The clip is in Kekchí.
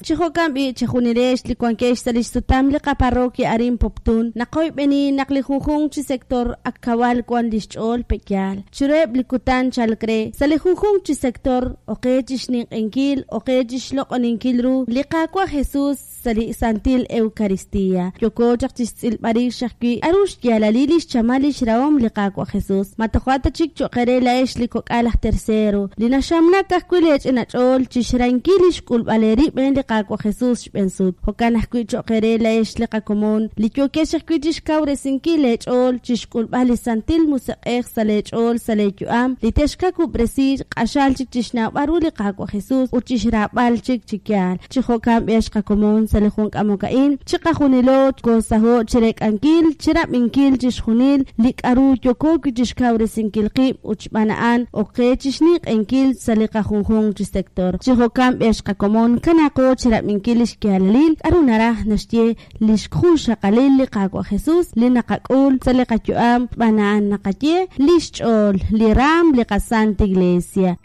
Chi jo'kan b'i', chejunilex li wankex sa' lix sutam li qaparroquia arin Poptún, naqoyb'eni naq li junjunq chi sector ak kawal wan lix ch'ool pe'yaal. Chiruheb' li kutan chalk re, sa' li junjunq chi sector, oqe chixninq'ehinkil, oqe chixloq'oninkil ru li Qaawa' Jesus sa' li Santil Eucaristía. Yooko chaq chixtz'ilb'al rix ajwi' k'a'ru xyaalalil lix chamal lix rahom li Qaawa' Jesus. Ma toja' ta chik cho'q eere laa'ex li kok'al aj tercero, li naxamnak ajwi' lee ch'ina ch'ool chixrahinkil lix k'ulb'al eerib' rik'in li Qaawa' Jesus xb'een sut. Jo'kan ajwi' cho'q eere laa'ex li qakomon, li yookex ajwi' chixkawresinkil leech'ool chixk'ulb'al li Santil Musiq'ej sa' leech'ool sa' leeyu'am, li texkawub'resi q'axal chik chixnawb'al ru li Qaawa' Jesus ut chixraab'al chik chi yaal. Chi jo'kan b'eex qakomon sa' li jun k'amok a'in, chiqajunilo koosaho' chireek'ankil, chirab'inkil chixjunil li k'a'ru yooko wi' chixkawresinkil qib' ut xb'aan a'an ok qe chixninq'ehinkil sa' li qajunjunq chi sector. Chi jo'kan b'eex qakomon kanaaqo chirab'inkil lix yaalalil k'a'ru naraj naxye lix junxaqalil li Qaawa' Jesus li naqak'ul sa' li qayu'am xb'aan a'an naqaye lix ch'ool li raam li qaSanta Iglesia.